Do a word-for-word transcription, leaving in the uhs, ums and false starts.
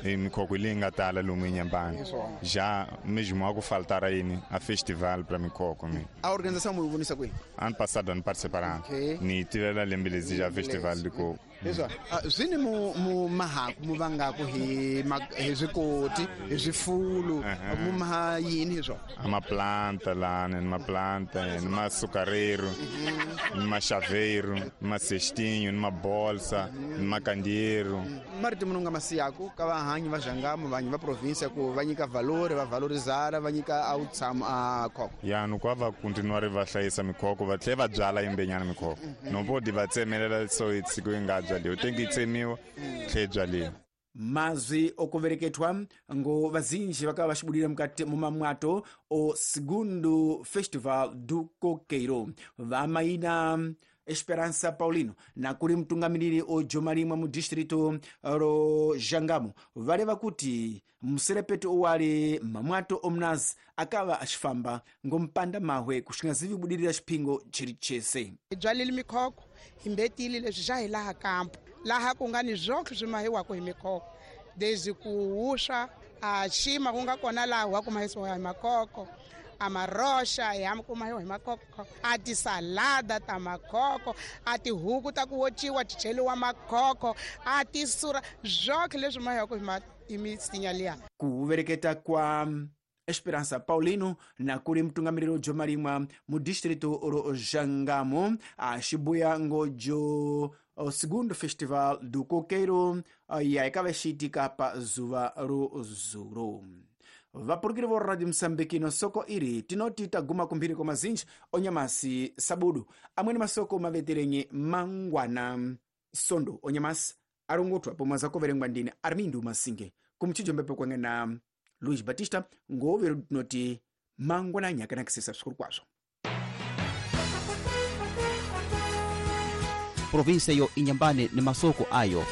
E mikhokho leyi nga tala lomu eNyambani. Já mesmo algo faltar aí a festival para mikhokho mi. A organização mu vonisa kwihi? Ano passado ano participaram. Okay. Ni tivela lembe lezi já festival de coco. Leswa swi ni mu mu mahaku mu vangaku hi hi swikoti hi swifulu mu maha yini hi swona? Ama planta lá, né? Numa planta, numa açucareiro, numa chaveiro, numa cestinho, numa bolsa, numa candeeiro. Marito munhu nga masiyaku ka vahanyi va Jangamo vanhu va província ku va nyika valor va valorizara va nyika a utshamo a khoko. Ya no kwa va continuar va hlayisa mikhoko va tlhela va byala yimbenyana mikhoko. No pode va tsemelela so itsiko yi nga byaliwa tem que tsemiwa tlhe byaliwa. Mazwi okuvereketwa ngo vazinji vakava vachibudira mukati mumamwato o segundo Festival do Coqueiro. Vamaina Esperança Paulino nakuri mtungamiriri o Jomarimwa mu distrito ro Jangamo vareva kuti muserepeto owali mamwato omnazi akava achifamba ngompanda mahwe kushingazivi budirira chipingo chiri chese. Hi byalile mikhokho hi mbetile leswi xa hi laha kampo laha ku nga ni zwoke swi mahiwaka hi mikhokho desde ku wuswa a xima ku nga kona laha wa ku mahisiwa hi makhokho a maroxa ya kuma hi makhokho a tisalada ta makhokho a tihuku ta ku wociwa ti cheliwa makhokho a tisura zwoke leswi mahiwaka hi misinya liya. Kuvereketa kwa Esperança Paulino nakuri mtungamiriro Jomarimwa mu distrito ro Jangamo axibuya ngojo o segundo Festival do Coqueiro ya ikava xiitika pa zuva ro zuro. Vapurukiri vo Radio Msambiki no soko iri tinoti taguma kumphiri kwa mazinji onyamasi sabudu amweni masoko maveterenye mangwana sondo onyamasi arongotwa pomwe zakoverengwa ndine Armindo Masinge kumchijo mbepo kwange na Luis Batista ngovero tinoti mangwana nyakanakisisa svikuru kwazvo. Província yo Inhambane ni masoko ayo.